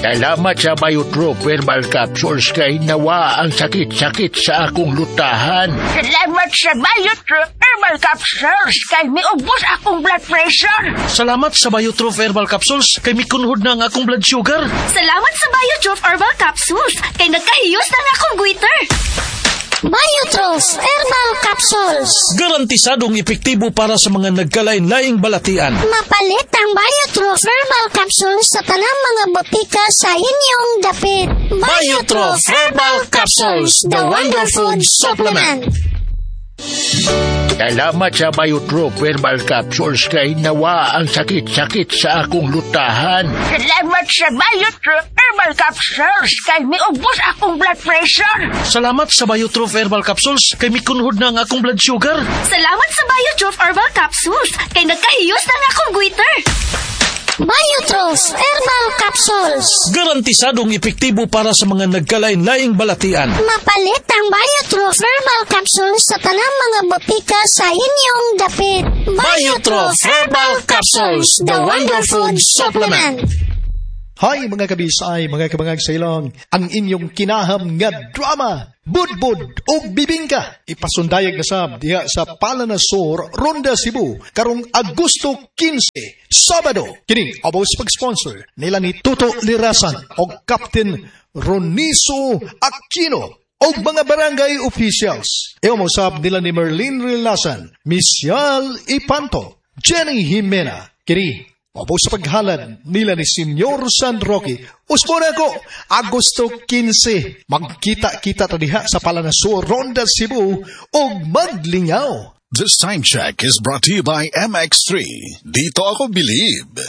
Salamat sa Biotroph Herbal Capsules kay nawa ang sakit-sakit sa akong lutahan. Salamat sa Biotroph Herbal Capsules kay miubos akong blood pressure. Salamat sa Biotroph Herbal Capsules kay mikunhod na ang akong blood sugar. Salamat sa Biotroph Herbal Capsules kay nagkahiyos na ang akong goiter. Biotroph Herbal Capsules. Garantisadong epektibo para sa mga nagkalain-laing balatian. Mapalit ang Biotroph Herbal Capsules sa tanang mga botika sa inyong dapit. Biotroph Herbal Capsules, the Wonder Food Supplement. Salamat sa Biotroph Herbal Capsules kay nawa ang sakit-sakit sa akong lutahan. Salamat sa Biotroph Herbal Capsules kay miubos akong blood pressure. Salamat sa Biotroph Herbal Capsules kay mikunhod na ang akong blood sugar. Salamat sa Biotroph Herbal Capsules kay nagkahiyos na ang akong goiter. Biotroph Herbal Capsules. Garantisadong epektibo para sa mga nagkalain-laing balatian. Mapalit ang Biotroph Herbal Capsules sa tanang mga botika sa inyong dapit. Biotroph Herbal Capsules, the Wonder Food Supplement. Hi mga kabisay, mga kabangag sa ilong, ang inyong kinaham nga drama, Budbud ug Bibingka. Ipasundayag na sab diha sa Palanasor, Ronda, Cebu, karong Agosto 15, Sabado. Kini abos pag-sponsor nila ni Toto Lirasan og Captain Roniso Aquino og mga barangay officials. Ewa mo sab nila ni Merlin Rilasan, Michelle Ipanto, Jenny Jimena. Kini Mabos sa paghalad nila ni Senyor San Roque. Usbo na ko, Agosto 15. Magkita-kita ta diha sa Palanasur, Ronda, Cebu og maglingaw. This time check is brought to you by MX3. Dito ako believe.